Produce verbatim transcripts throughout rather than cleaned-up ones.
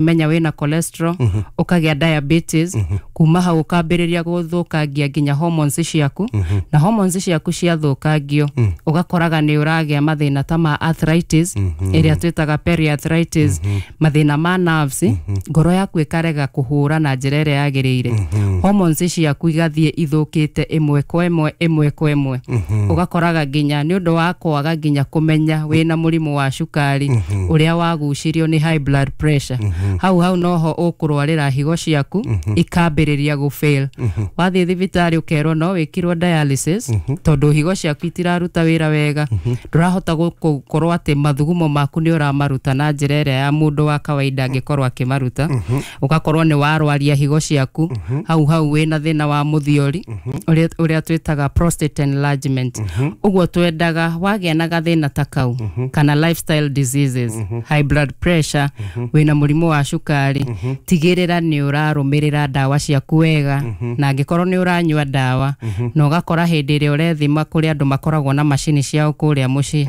Menya wĩna cholesterol, ũkagĩa diabetes, kuma hau ũkambĩrĩria gũthũkangia nginya hormones ciaku, na hormones ciaku ciathũkangio ũgakoraga nĩ ũragĩa mathĩna ta ma arthritis ĩrĩa twĩtaga periarthritis, mathĩna ma nerves, ngoro yaku ĩkarega kũhũra na njĩra ĩrĩa yagĩrĩire, hormones ciaku igathiĩ ithũkĩte ĩmwe kwa ĩmwe, ĩmwe kwa ĩmwe. Ũgakoraga nginya nĩ ũndũ wa kwaga nginya kũmenya wĩna mũrimũ wa cukari ũrĩa wagucirio nĩ high blood pressure, hau hau noho ũkũrwarĩra higo ciaku ikambĩrĩria gũ fail. Wathiĩ thibitarĩ ũkerwo no wĩkirwo dialysis tondũ higo ciaku itiraruta wĩra wega, ndũrahota gũkorwo atĩ mathugumo maku nĩ ũramaruta na njĩra ĩrĩa ya mũndũ wa kawaida angĩkorwo akĩmaruta. Ũgakorwo nĩ warwaria higo ciaku, hau hau wĩna thĩna wa mũthiori ũrĩa ũrĩa twĩtaga prostate enlargement. Ũguo twendaga wagĩa na gathĩna ta kau kana lifestyle diseases, high blood pressure, wĩna mũrimũ wa cukari, tigĩrĩra nĩ ũrarũmĩrĩra ndawa ciaku wega, na angĩkorwo nĩ ũranyua ndawa na ũgakora hĩndĩ ĩrĩa ũrethima, kũrĩ andũ makoragwo na macini ciao kũrĩa mũciĩ,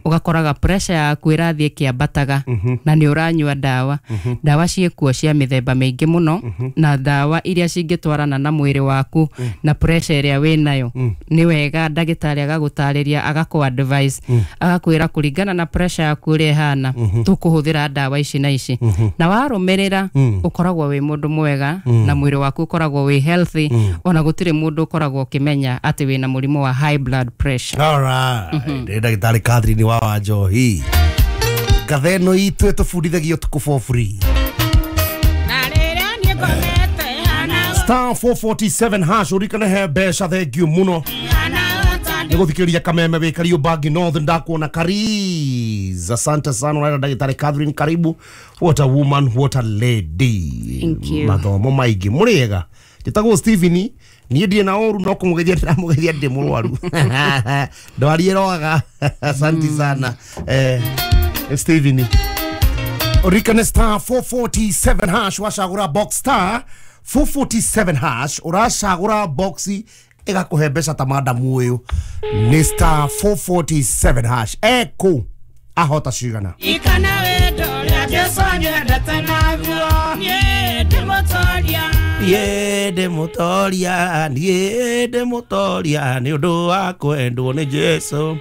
ũgakoraga pressure yaku ĩrathiĩ ĩkĩambataga na nĩ ũranyua ndawa, ndawa ciĩkuo cia mĩthemba mĩingĩ mũno, na ndawa iria cingĩtwarana na mwĩrĩ waku na pressure ĩrĩa wĩnayo. Nĩ wega ndagĩtarĩ agagũtarĩria, agakũ advice, agakwĩra kũringana na pressure yaku ũrĩa ĩhana, tũkũhũthĩra ndawa ici na ici, na warũmĩrĩra ũkoragwo wĩ mũndũ mwega na mwĩrĩ waku ũkoragwo wĩ healthy, ona gũtirĩ mũndũ ũkoragwo ũkĩmenya atĩ wĩna mũrimũ wa high blood pressure. Alright. Nĩ ndagĩtarĩ Catherine wa Wanjohi. Ngatha ĩno itũ ĩtũbundithagia ũtukũ for free. Na rĩrĩa niĩ ngomete hana Star four forty-seven hash, ũrikane he mbeca. Thank you mũno hana nĩ gũthikĩrĩria Kameme wĩ Kariũmbangi North. Ndakuona Kariz, asante sana. Ũraira ndagĩtarĩ Catherine, karibu. What a woman, what a lady. Thank you. Mathomo maingĩ mũrĩega. Njĩtagwo Stephen, niĩ ndirĩ na ũru no kũmũgeithia ndĩramũgeithia, ndĩ mũrwaru, ndwari ĩroaga. Asante sana, eh, Stephen. Ũririkane star four forty-seven hash, wacagũra box, star four forty-seven hash, ũracagũra box ĩgakũhe mbeca ta madamu ũyũ. Nĩ star four forty-seven hash. Ekũ ahota cigana? Ikana wendo ũrĩa Jesũ anyendete naguo, niĩ ndĩ mũtoria. Niĩ ndĩ mũtoria, niĩ ndĩ mũtoria nĩ ũndũ wa kwendwo nĩ Jesũ.